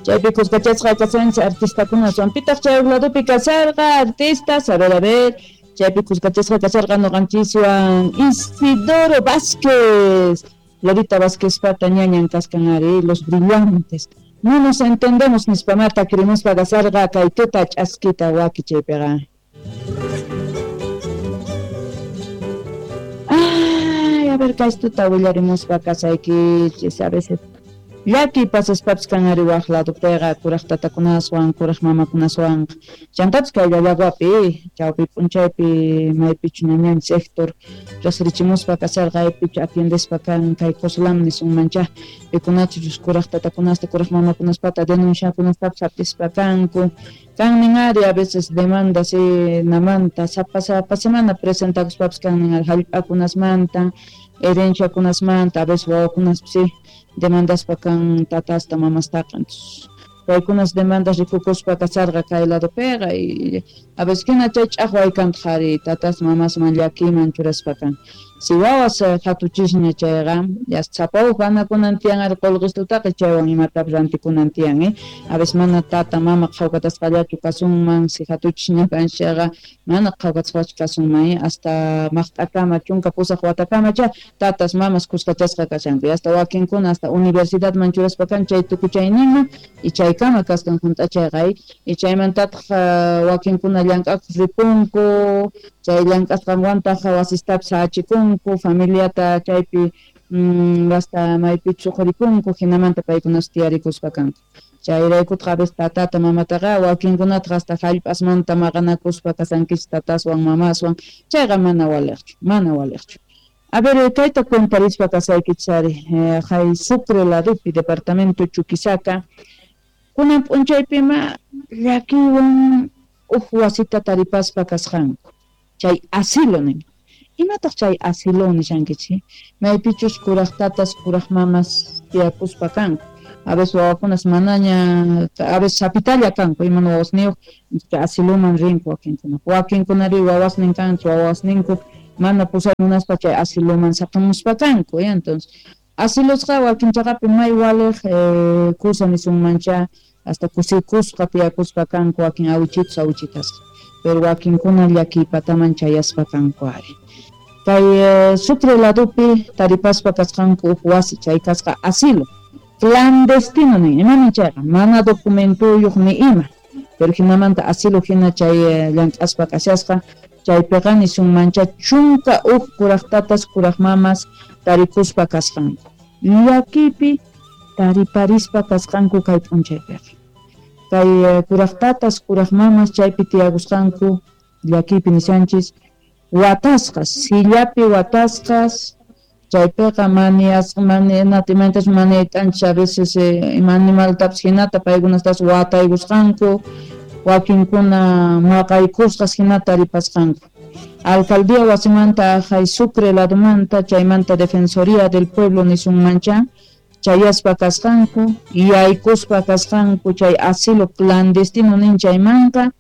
Chaypi kuskachasqa kashanchis artistakunaswan. Pitaq chay ladopi kasharqa artistas? A ver, a ver. Chaypi kuskachasqa kasharqa noqanchiswan Isidoro Vázquez. Lolita Vázquez pata ñañan kaskan ari, Los Brillantes. No nos entendemos nispamata querimuspa kasharqa kay tuta ch'askita waki chaypiqa. Ay, a ver, kay tuta willarimuspa kasaykichis a veces. Llaki pasaspapis kan ari waj ladopiqa kuraj tatakunaswan, kuraj mamakunaswan. Chantapis kay llallaguapi, chawpi p'unchaypi maypichu ñañanchis Héctor riqsirichimuspa kasharqa aypichu atiendespa kan kay Coslam nisunmancha pikunachus kuraj tatakunasta, kuraj mamakunaspata denunciakunastapis hap'ispa kanku. Kannin ari a veces demandas namanta sapa sapa semana presentakuspapis kannin ari hallp'akunasmanta, herenciakunasmanta, a veces wawakunaspis sí demandaspa kan tatasta mamastaqa. Entonces paykunas demandas rikukuspa kasharqa kay ladopiqa y a veces hina chay ch'aqway kantaq ari tatas mamasman llakiyman churaspa kan. Si wawas hatuchisña chayqa ya sapa uj ganakunan tiyan ari qullqistutaqa chaywan imatapis rantikunan tiyan, a veces mana tata mama qhawkatasqallachu kasunman si hatuchisña kanchis chayqa mana qhawkatasqachu kasunman, hasta maqt'akama 18 watakama cha tatas mamas kuskachasqa kashanku hasta wakinkuna hasta universidadman churaspa kan chay tukuchayninman y chaykama kaskan hunt'achayqa y chaymantataq wakinkuna llank'akuq ripunku chay llank'asqanwantaq wasistapis hachikunku familiata chaypi hasta maypichus uqhuripunku hinamanta paykunas tiyarikuspa kanku. Chayraykutaq a veces tatata mamataqa wakinkunataq hasta hallp'asmanta maqanakuspa kasankichis tataswan mamaswan chayqa mana waliqchu, mana waliqchu. A ver, kayta cuentarispa kasaykichis ari hay Sucre ladopi departamento Chuquisaca kunan p'unchaypima llakiywan uj wasita taripaspa kasqanku chay asilo nin. Imataq chay asilo nishankichis? Maypichus kuraj tatas, kuraj mamas tiyakuspa kanku. A veces wawakunas manaña, a veces sapitalla kanku, iman wawasniyuq, asiloman rinku wakinkuna. Wakinkunari wawasnin kanku, wawasninku mana pusay munaspa chay asiloman saqamuspa kanku. Entonces, asilosqa wakin chaqapi may waliq kusa nisunmancha hasta kusikusqa tiyakuspa kanku wakin awichitus awichitasqa. Pero wakinkuna llakiypataman chayaspa kanku ari. Kay Sucre ladopi taripaspa kasqanku uj wasi chay kasqa asilo clandestino nin, imanin chayqa mana documentuyuq ni ima, pero hinamanta asilo hina chay llank'aspa kashasqa chaypiqa nisunmancha 11 kuraj tatas kuraj mamas tarikuspa kasqanku llakiypi tariparispa kasqanku kay p'unchaypiqa. Kay kuraj tatas kuraj mamas chaypi tiyakusqanku llakiypi nishanchis watasqas, sillapi watasqas, chaypiqa manias maniayt'anchis a veces ima animaltapis hinata paykunastas wataykusqanku, wakinkuna maqaykusqas hinata taripasqanku. Alcaldía wasimanta hay Sucre ladomanta chaymanta Defensoría del Pueblo nisunmancha chayaspa kasqanku, yaykuspa kasqanku chay asilo clandestino nin chaymanqa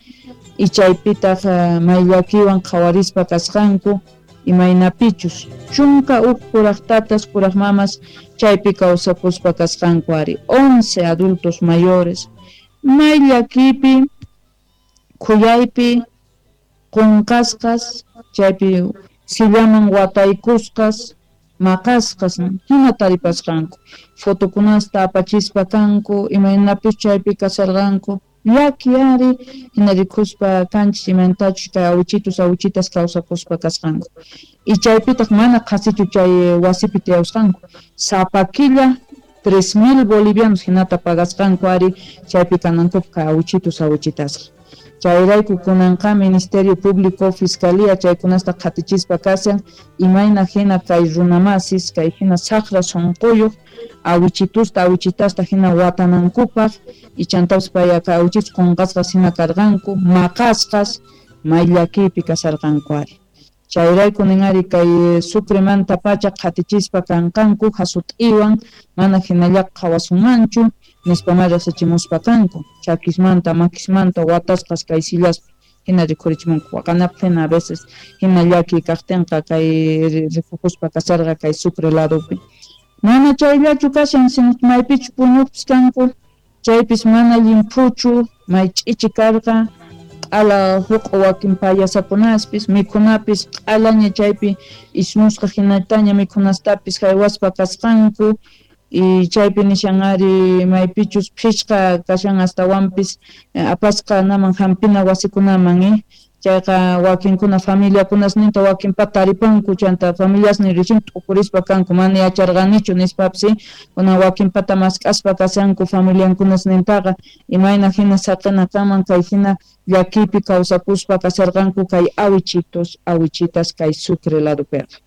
y chaypitaq may llakiwan qhawarispa kasqanku imaynapichus 11 kuraj tatas kuraj mamas chaypi kawsakuspa kasqanku ari 11 adultos mayores may llakipi khuyaypi qunqasqas chaypi sillaman wataykusqas maqasqas hina taripasqanku fotokunasta apachispa kanku imaynapis chaypi kasarqanku llaki ari hina rikuspa kanchis imantachus kay awichitus awichitas kawsakuspa kasqanku y chaypitaq mana qhasichu chay wasipi tiyawsqanku sapa killa 3,000 bolivianos hinata pagasqanku ari chaypi kanankupaq kay awichitus awichitasqa. Chayrayku kunanqa Ministerio Público, Fiscalía chaykunasta qhatichispa kashan imayna hina kay runamasis kay hina saqra sunquyuq awichitusta awichitasta hina watanankupaq y chantapis payqa awichitus qunqasqas hina karqanku maqasqas may llakiypi kasharqanku ari. Chayrayku nin ari kay Sucremanta pacha qhatichispa kanqanku hasut'iwan mana hinallaqa qhawasunmanchu nispama riqsichimuspa kanku chakismanta makismanta watasqas kay sillaspi hina rikhurichimunku waqanapaq hina a veces hina llakiy kaqtinqa kay rikukuspa kasharqa kay Sucre ladopi. Mana chayllachu kashan sino maypichu puñuqpis kanku Chaypis mana llimphuchu, may ch'ichi karqa, q'ala huq'u wakin payasakunaspis, mikhunapis q'alaña chaypi ismusqa hinataña mikhunastapis haywaspa kasqanku. Y chaypi nishan ari maypichus phishqa kashan astawanpis apasqa naman hampina wasikunaman chayqa wakinkuna familiakunasninta wakinpata taripanku chanta familiasnin recién t'ukurispa kanku mana yacharqanichu nispapis kuna wakinpata mask'aspa kashanku familiankunasnintaqa imayna hina saqina kanman kay hina llakiypi kawsakuspa kasharqanku kay awichitos awichitas kay Sucre ladopiqa.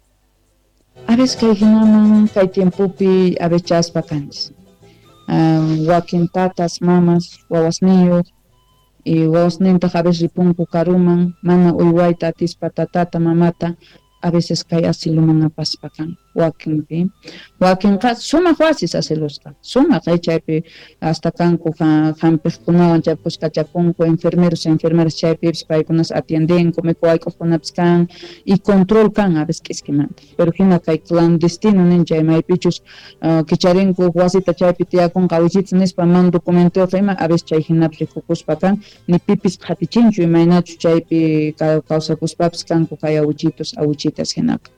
A veces kay hinaman kay tiempopi avechaspa kanchis wakin tatas mamas wawasniyuq y wawasnintaq a veces ripunku karuman mana uywayta atispa tatata mamata a veces kay asiluman apaspa kan wakinpi wakinqa sumaq wasis asilusqa sumaq chaypi hasta kanku hampiqkunawan chay puskachakunku enfermeros enfermeras chaypipis paykunas atiendenku mikhuwayk'uqkunapis kan y control kan a veces k'iskimanta pero hina kay clandestino nin chay maypichus kicharinku wasita chaypi tiyakunqa awichitas nispa man documentoyuq ima a veces chay hinapis rikukuspa kan ni pipis qhatichinchu imaynachu chaypi kawsakuspapis kanku kay awichitos awichitas hinaqa.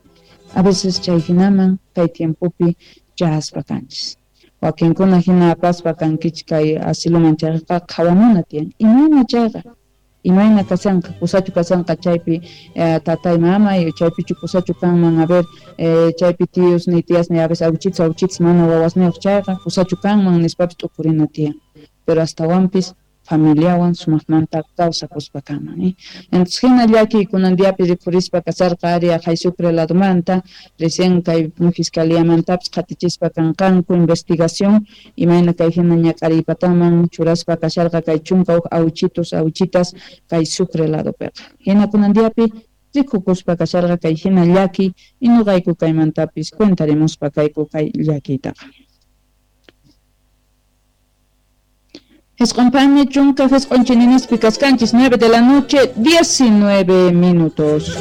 A veces chay hinaman kay tiempopi chaspa kanchis. Wakinkuna hina apaspa kankichik kay asiluman chayqa qhawamuna tiyan. Imayna chayqa? Imayna kashanqa? Kusachu kashanqa chaypi tatay mamay, chaypichu kusachu kanman, a ver, chaypi tíos ni tías ni a veces awichitas awichitas mana wawasniyuq chayqa kusachu kanman nispapis t'ukurina tiyan. Pero astawanpis familiawan sumaqmanta kawsakuspa kanman. Entonces hina llakiy kunan diapi rikhurispa kasarqa ari aqhay Sucre ladomanta recién kay fiscaliamantapis qhatichispa kanqanku investigación imayna kay hina ñak'ariypataman churaspa kasharqa kay chunka huk awichitos awichitas kay Sucre ladopiqa. Hina kunan diapi rikukuspa kasharqa kay hina llakiy y nuqayku kaymantapis cuentarimuspa kayku kay llakiytaqa. Esqonpami chunka esqonchininispi kaskanchis 9 de la noche 19 minutos.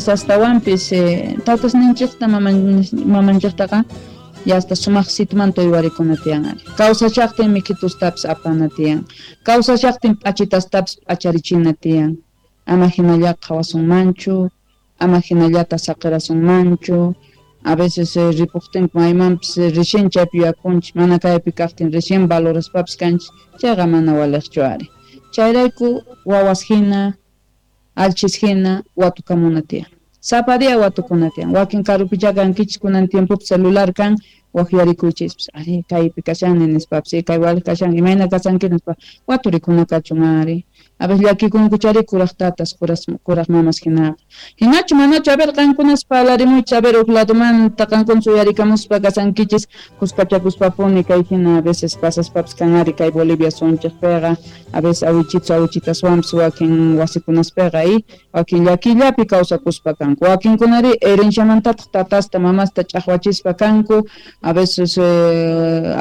Astawanpis tatasninchikta mamanchiktaqa ya hasta sumaq sitmanta uywarikuna tiyan ari. Kawsashaqtin mikhitustapis apana tiyan. Kawsashaqtin p'achitastapis p'acharichina tiyan. Ama hinallaqa qhawasunmanchu. Ama hinallata saqirasunmanchu. A veces ripuqtinku maymanpis recién chaypi yuyakunchik mana kaypi kaqtin recién valoraspapis kanchik chayqa mana waliqchu ari. Chayrayku wawas hina alchis hina watukamuna tiyan. Sapa día watukuna tiyan. Wakin karupicha kankichik kunan tiempopi celular kan waqyarikuychispis ari kaypi kashani nispapis kay waliq kashan imayna kashanki nispa waturikuna kachun ari. A veces llakikunku chari kuraq tatas kuraq mamas hinaqa. Hinachu manachu a ver qankunas parlarimuychis a ver huk ladomanta qankuna uyarikamuspa kasankichis kuskachakuspapuni kay hina a veces pasaspapis kan ari kay Bolivia sunchikpiqa a veces awichitos awichitaswanpis wakin wasikunaspiqa y wakin llakillapi kawsakuspa kanku wakinkunari herenciamantataq tatasta mamasta ch'aqwachispa kanku a veces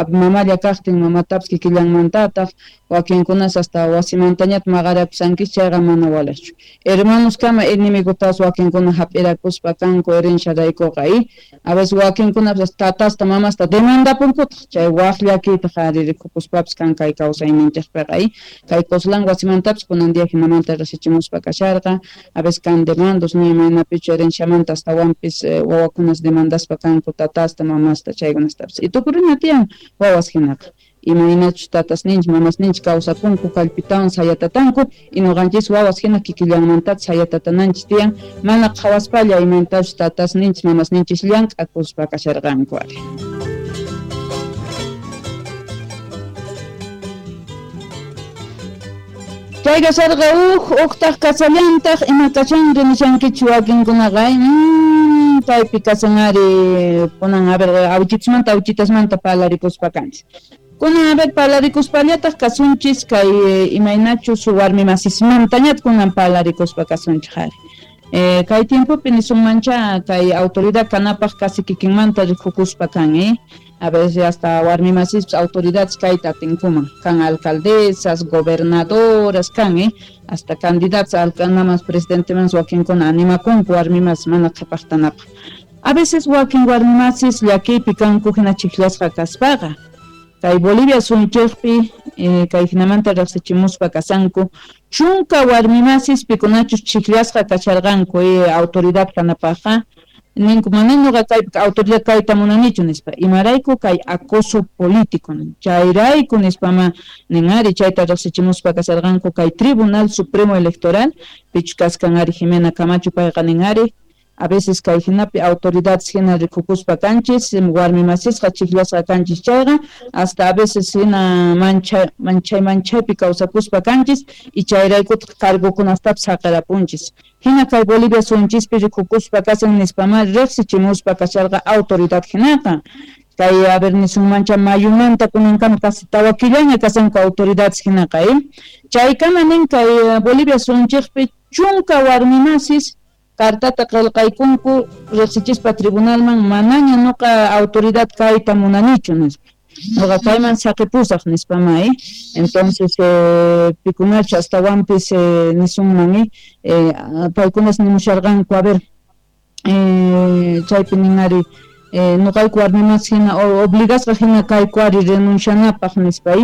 mamalla kaqtin mamatapis kikillanmantataq wakinkunas hasta wasimantañata maqarakusankichis chayqa mana waliqchu. Hermanos kama enemigotas wakinkuna hap'irakuspa kanku herenciaraykuqa y a veces wakinkunapas tatasta mamasta demandapunkutaq chay waq llakiytaq ari rikukuspapis kan kay kawsayninchikpiqa y kay Coslán wasimantapis kunan día hinamanta riqsichimuspa kasharqa a veces kan demandos ni imaynapichu herenciamanta astawanpis wawakunas demandaspa kanku tatasta mamasta chaykunastapis y tukurina tiyan wawas hinaqa. Imaynachus tatasninchik mamasninchik kawsakunku kallpitawan sayatatanku y nuqanchis wawas hina kikillanmantataq sayatatananchik tiyan mana qhawaspalla imaynatachus tatasninchik mamasninchik llank'akuspa kasharqanku ari. Chay kasharqa uqtaq kasallantaq ima kashanri nishankichik wakinkunaqa kaypi kasan ari kunan a ver awichitasmanta awichitasmanta parlarikuspa kanchik. Kunan a ver parlarikuspallataq kasunchis kay imaynachus warmi masismantañataq kunan parlarikuspa kasunchik ari. Kay tiempopi nisunmancha kay autoridad kanapaj casi kikinmanta rikukuspa kan, a veces hasta warmimasis autoridades kayta atinkuman, kan alcaldesas, gobernadoras kan, hasta candidatas alcanamas presidenteman wakinkuna animakunku warmimas mana qhapaqtanapaq. A veces wakin warmimasis llakiypi kanku hina chiklasqa kaspaqa. Kay Bolivia suyunchikpi kay hinamanta riqsichimuspa kasanku chunka warmimasis pikunachus chiklasqa kasharqanku autoridad kanapaqqa ninku mana ñuqa kaypi autoridad kayta munanichu nispa, imarayku kay acoso político chayrayku nispama nin ari chayta riqsichimuspa kasharqanku kay Tribunal Supremo Electoral pichus kaskan ari Jimena Camacho payqa nin ari a veces kay hinapi autoridades hina rikukuspa kanchis warmimasisqa chiklasqa kanchis chayqa hasta a veces hina manchaypi kawsakuspa kanchis y chayraykutaq cargokunastapis saqirapunchis hina kay Bolivia suyunchispi rikukuspa kasan nispama riqsichimuspa kasharqa autoridad hinaqa. Kay a ver nisunmancha mayumanta kunankama casi tawa killaña kasanku autoridades hinaqa chaykama nin kay Bolivia suyunchikpi chunka warmimasis cartata qillqaykunku riqsichispa tribunalman manaña nuqa autoridad kayta munanichu nispa, nuqa kayman saqipusaq nispama entonces pikunachu astawanpis nisunman paykunas nimusharqanku a ver chaypi nin ari nuqayku warmimas hina obligasqa hina kayku ari renuncianapaq nispa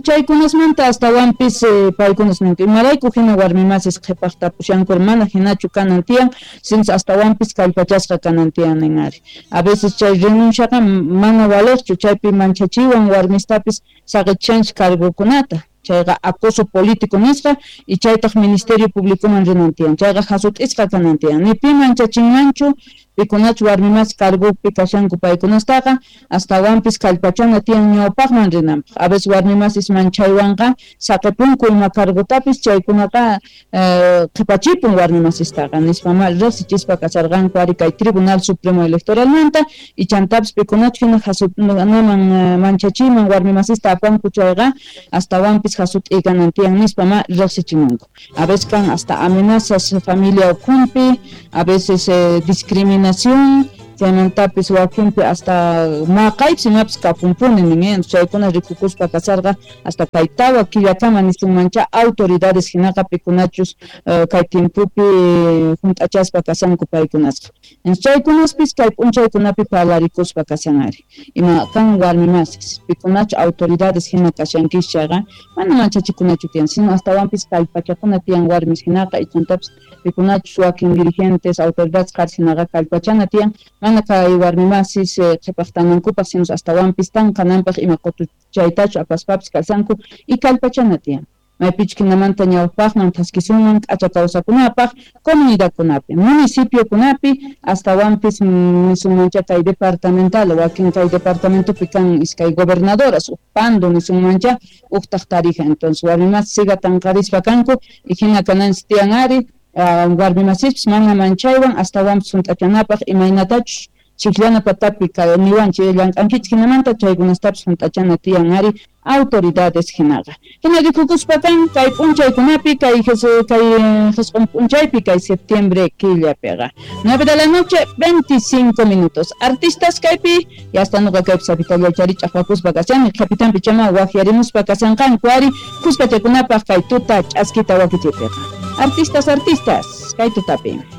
chaykunasmanta astawanpis paykunas ninku imarayku hina warmimasis qhipaqta pushanku mana hinachu kanan tiyan sinus astawanpis kallpachasqa kanan tiyan nin ari a veces chay renunciaqa mana valeqchu chaypi manchachiwan warmistapis saqichanchik cargokunata chayqa acoso político nisqa y chaytaq Ministerio Públicoman rinan tiyan chayqa hasut'isqa kanan tiyan ni pi manchachinmanchu pikunachu warmimas cargopi kashanku paykunastaqa astawanpis kallpachana tiyan ñawpaqman rinanpaq a veces warmimasis manchaywanqa saqipunku ima cargotapis chaykunaqa qhipachipun warmimasistaqa nispama riqsichispa kasharqanku ari kay Tribunal Supremo Electoralmanta y chantapis pikunachu hina hasut'naman manchachiman warmimasista apanku chayqa astawanpis hasut'i kanan tiyan nispama riqsichimunku a veces kan hasta amenazas familia ukhunpi a veces discriminación chaymantapis wakinpi hasta maqaypis imapis kapunpuni nin chaykuna rikukuspa kasarqa hasta kay tawa killakama nisunmancha autoridades hinaqa pikunachus kay tiempopi hunt'achaspa kasanku paykunasqa chaykunaspis kay p'unchaykunapi parlarikuspa kasan ari ima kan warmimasis pikunachu autoridades hina kashankis chayqa mana manchachikunachu tiyan sino astawanpis kallpachakuna tiyan warmis hinaqa ichantapis pikunachus wakin dirigentes autoridades qaris hinaqa kallpachana tiyan mana kay warmimasis qhipaqtanankupaq sino astawanpis tanqananpaq ima qutuchaytachu apaspapis kasanku y kallpachana tiyan maypichu hinamanta ñawpaqman thaskisunman k'acha kawsakunapaq comunidadkunapi municipiokunapi astawanpis nisunmancha kay departamental wakin kay departamentopi kan iskay gobernadoras uj Pando nisunmancha uqtaq Tarija entonces warmimasis siga tanqarispa kanku y hina kananchis tiyan ari warmimasispis mana manchaywan astawanpis hunt'achanapaq imaynatachus chikllana patapi niwanchik llank'ankichik hinamanta chaykunastapis hunt'achana tiyan ari autoridades hinaqa hina rikukuspa kan kay p'unchaykunapi kay jisq'un p'unchaypi kay septiembre killapiqa 9 de la noche 25 minutos artistas kaypi ya hasta nuqa kaypi sapitalla chari ch'aqwakuspa kashani qhapitanpi chama waqyarimuspa kashanqanku ari khuskachakunapaq kay tuta ch'askita wakichiypiqa artistas artistas kay tutapi.